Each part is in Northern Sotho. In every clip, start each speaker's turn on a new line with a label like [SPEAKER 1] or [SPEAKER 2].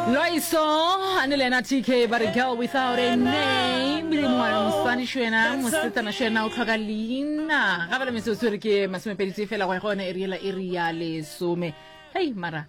[SPEAKER 1] Loiso a ne le ena TK ba re girl without a name le ngwana mosadi šwena mosetsana šwena o tlhoka leina ga bale metsotso re ke masomepedi tee fela go ya go yona eri yela eri ya lesome hei mara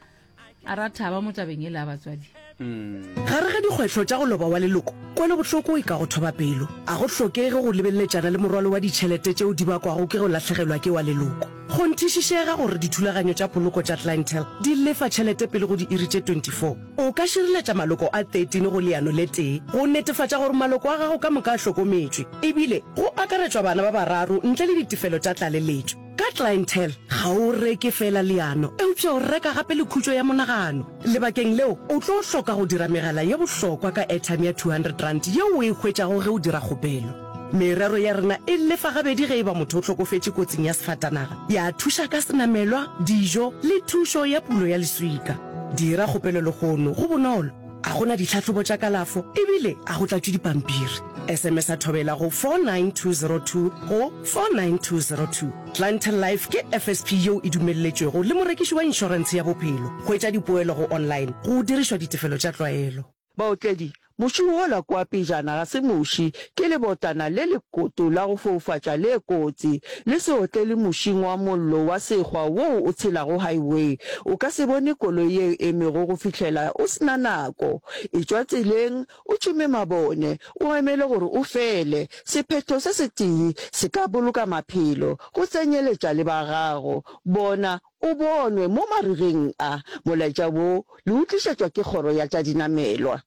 [SPEAKER 1] a ra thaba mo tabeng e le ya batswadi
[SPEAKER 2] Gare ga dikgwetlho tša go loba wa leloko, kwelobohloko e ka go thoba pelo. A go hlokege go lebeletšana le morwalo wa ditšhelete tšeo di bakwago ke go lahlegelwa ke wa leloko. Kgonthišišega gore dithulaganyo tša poloko tša Clientele di lefa tšhelete pele go diiri tše 24. O ka šireletša maloko a 13 go leano le tee go netefatša gore maloko a gago ka moka a hlokometšwe, ebile go akaretšwa bana ba bararo ntle le ditefelo tša tlaleletšo. Ka Clientele, ga o reke feela leano, eupša o reka gape le khutšo ya monagano. Lebakeng leo, o tlo hloka go dira megala ye bohlokwa ka airtime ya R200 yeo o e hwetšago ge o dira kgopelo. Merero ya rena e lefa gabedi ge e ba motho o hlokofetše kotsing ya sefatanaga, ya thuša ka senamelwa, dijo le thušo ya pulo ya leswika. Dira kgopelo lehono, go bonolo, ga go na ditlhahlobo tša kalafo ebile ga go tlatšwe dipampiri. SMS-a Thobela go 49202 go 49202. Clientele Life ke FSP yeo e dumelletšwego le morekiši wa inšorentshe ya bophelo. Hwetša dipoelo go online go dirišwa ditefelo tša tlwaelo.
[SPEAKER 3] Baotledi, Muši wola kua pejana ga se muši, ke lebotana le lekoto la go foufatša le kotsi. Le se otlele mušing wa mollo wa sekgwa woo o tshelago highway. O ka se bone koloi ye e emego go fihlela o se na nako. Etšwa tseleng, O tšhume mabone, o emele gore o fele. Sephetho se setee se ka boloka maphelo, go tsenyeletša le ba gago. Bona o bonwe mo marigeng a. Molaetša wo le o tlišetšwa ke Kgoro ya tša Dinamelwa.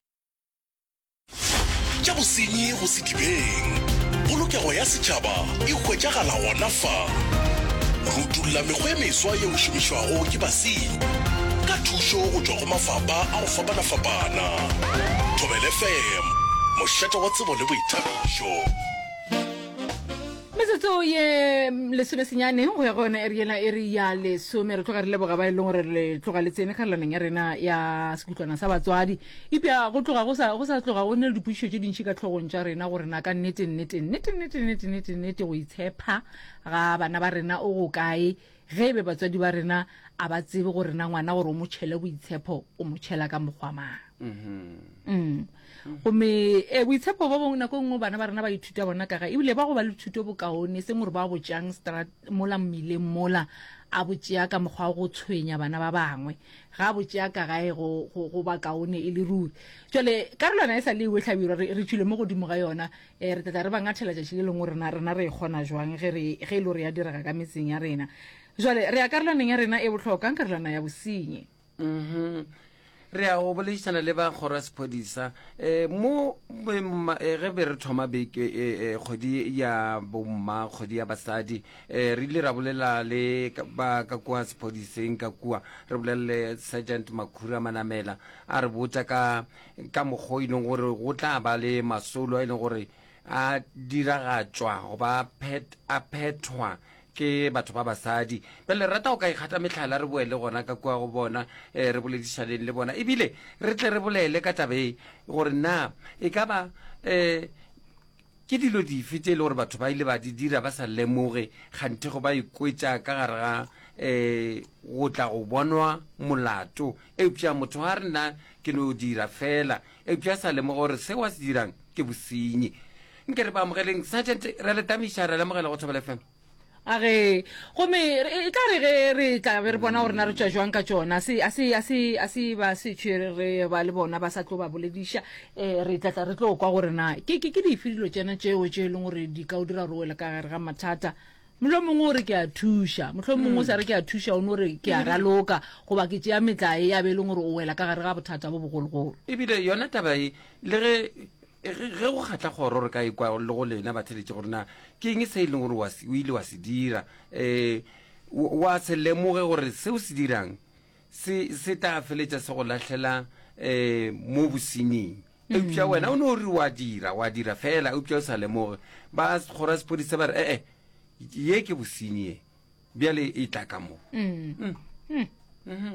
[SPEAKER 4] Tša bosenyi go sedibeng. Polokego ya setšhaba e hwetšagala gona fa. Re utolla mekgwa e meswa yeo e šomišwago ke basenyi ka thušo go tšwa go mafapha a go fapanafapana. Thobela FM, mošate wa tsebo le boithabišo.
[SPEAKER 1] Metsotso ye lesomesenyane go ya go yona eri yela eri ya lesome. Re tloga re leboga ba e leng gore le tloga le tsene karolwaneng ya rena ya sekutlwana sa batswadi. Eupša go tloga go sa, go sa tloga go ne le dipotšišo tše dintši ka hlogong tša rena gore na ka nnete, nnete, nnete, nnete, nnete, nnete, nnete go itshepha ga bana ba rena o go kae ge e be batswadi ba rena a ba tsebe gore na ngwana gore o mo tšhele boitshepo o mo tšhela ka mokgwa mang. Mm. Gomme e boitshepo bo bongwe nako e nngwe bana ba rena ba ithuta bona ka gae ebile ba go ba le thuto bokaone seng gore ba bo tšeang strat mola mmileng mola a bo tšea ka mokgwa wa go tshwenya bana ba bangwe ga a bo tšea ka gae go, go, go ba kaone e le ruri. Jwale karolwana e sa le ewe hlabirwa re, re tšwile mo godimo ga yona e, re tla tla re ba ngathela tšatši le lengwe rena rena re e kgona jwang ge re ge e le gore ya direga ka metseng ya rena. Jwale re ya karolwaneng ya rena e bohlokwa karolwana ya bosenyi.
[SPEAKER 5] Mhm. Re ya go boledišana le ba kgoro ya sephodisa um mo eh, ge be re thoma beke eh, eh, kgwedi ya bomma kgwedi ya basadi um re ile ra bolela le ba ka kua sephodiseng ka kua re bolela le sergeant makhura manamela a re botša ka ka mokgwa o e leng gore go tla ba le masolo a e leng gore a diragatšwa goba a phethwa ke batho ba basadi. Bjale re rata go ka ikgata mehlala re boele gona ka kua go bona, eh, re boledišaneng le bona ebile re tle re bolele ka taba e gore na e ka ba eh, ke dilo dife tše e le gore batho ba ile ba di dira ba sa lemoge kganthe go ba ikwetša ka gare ga um go tla go bonwa molato eupša motho ga re nna ke no dira fela eupša a sa lemoge gore seo a se dirang ke bosenyi nke re ba amogeleng sergeant re le tamiša re lemogela go thobela fm
[SPEAKER 1] a ge gomme e tla re ge re tla be re bona gore na re tšwa jwang ka tšona se a se a se a se ba se tšwe re ba le bona ba sa tlo ba bolediša um re tla tla re tlo kwa gore na ke ke ke dife dilo tšena tšeo tše e leng gore di ka o dira gore o wele ka gare ga mathata Mohlomongwe o re ke a thuša, mohlomongwe o sa re ke a thuša, o no re ke a raloka goba ke tšea metlae ya be e leng gore o wela ka gare ga bothata bo bogologolo.
[SPEAKER 5] Ebile yona taba e, le ge ge go kgatla kgoro re ka ekwa le go lena batheletše gore na ke eng se e leng gore wa o ile wa se dira um wa se lemoge gore se o se dirang se se tla feletša se go lahlela um mo bosenying eupša wena o ne o re wa dira wa dira fela eupša o sa lemoge ba kgoro ya sephodisa ba re ee ye ke bosenyi ye bjale e tla ka mo mm. Mm. Mm -hmm.